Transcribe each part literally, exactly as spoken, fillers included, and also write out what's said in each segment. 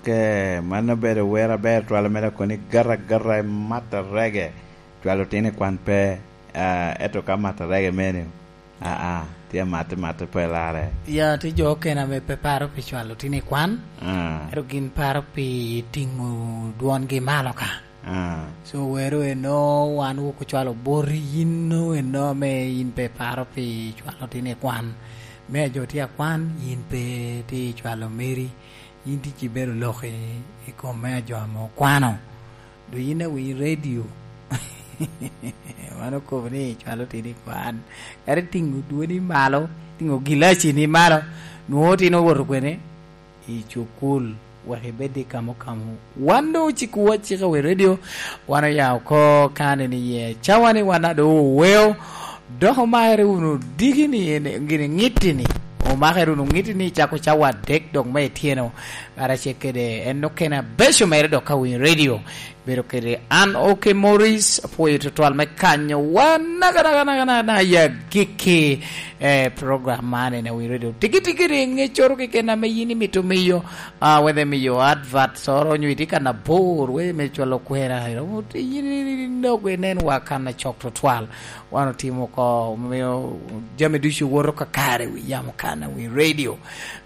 Eh, mano obedo wer aber twal mere, kono i gata gata i mat arege. Cwalo otino i kwan pe, ah, ento ka mat arege mene, ah, ah, tye amatte matte pe larre. Ya, tye jo okene ame pe paro pi cwalo otino i kwan, ah, ento gin paro pi tiŋo dwongi malo ka. Ah. So, wero eno, wan wok ocwalo boti, yin no eno ame yin pe paro pi cwalo otino i kwan. Me a jo tye akwan, yin pe tye cwalo meri, yin tye ci bedo lok i, i kom me a jo ame okwano. Do yin awinyo redio? Wan okobo ni cwalo otino i kwan. Kadi tiŋo dwoni malo, tiŋo gilaci ni malo, nwoŋo otino owoto kwene? I cukul, wek ibed i kamo kamo. Wan doŋ ocikowa cika wi redio, wan oya oko kane ni ye cawa ni wan a doŋ oweo, dok omakere wunu diki ni en, gini ŋitti ni, omakere wunu ŋitti ni cako cawa adek dok me ityeno, karacel kede en okene abeco mere dok ka winyo redio. Bedo kede an, Oke Morris, apwoyo tutwal me kanyo wan naka, naka, naka, naka, naka, ya gikki, eh, program man en awi radio. Tiki, tiki, ri ŋeccoro keken ame yin imito miyo, ah, whether miyo advert oro, onyo itye ka nabor, we me cwalo kwena, yin inok inen wa kan acok tutwal. Wan otimo oko, omiyo jami ducu woto kakare wi yamo kan awi radio.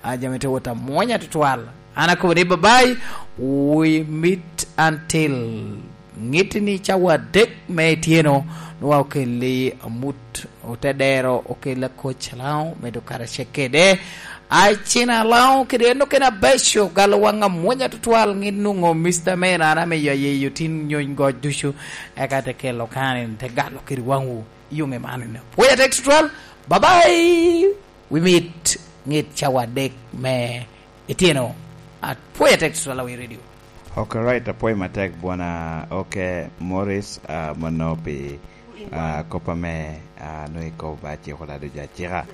Ah, jami te wot amwonya tutwal. An akobo ni, "Bye bye, we meet until," ŋitti ni cawa adek me ityeno, nwa okelli amut, ote dero, okelli akoc alaŋo, medo karacel kede. Ai, cina alaŋo kede en okene abeco, galo waŋ amwonya tutwal, ŋit nwoŋo Mister Man, an amiyo ayeyo tin nyony goc ducu, eka te kelo kan, te galo kede waŋwu, i yoŋe man. Pwoya tek tutwal, bye bye, we meet, ŋit cawa adek me Ityeno, apwoyo atek tutwal awi radio. Ok, right, apwoyo matek, bwana. Ok, Morris, ah, mono pi, ah, kop ame, ah, nongo ikobo ba ciko lado jo acika.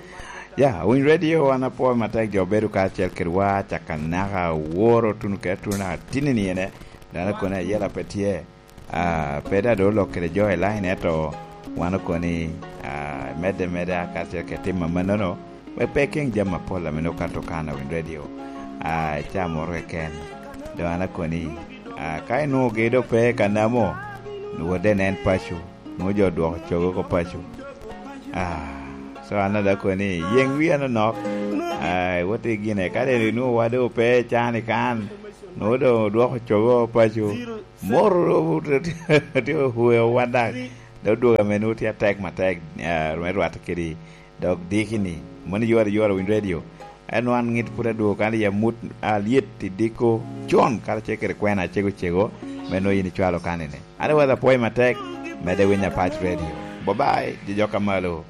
Ya, Winy Radio, wan apwoyo matek, jo bedo kacel kedwa, caka naka woro tuno kede tuno naka tini ni ene, dano kone ayela pe tye. Ah, pe daŋ doŋ olok kede jo i line, ento wan okoni, ah, medde meda karacel kede tim amannono, wek pe ikeŋ jami apol ame nwoŋo kato kan a Winy Radio, ah, i caa moro keken. Doŋ an akoni, ah, ka inwoŋogi doŋ pe i Kanamo, nwoŋo de nen paco, nwoŋo jo odwoko cogo oko paco. Ah, so an daŋ akoni, yeŋ wia nonok, ah, iwot i gine, ka doŋ inwoŋo wa doŋ pe i caa-ni kan, nwoŋo doŋ odwoko cogo paco. Moro tye oweo wan daŋ. Dok dwogo ame nwoŋo tye atek matek, ah, me rwatte kede dok diki-ni. Mano iyore, iyore Winy Radio. En wan ŋit pwod adwogo kan i amut alyet i diko con karacel kede kwena acego cego, me nwoŋo yin icwalo kan-ni. Otherwise, apwoyo matek, medde winyo Apac Radio. Bye bye, jo jok a malo.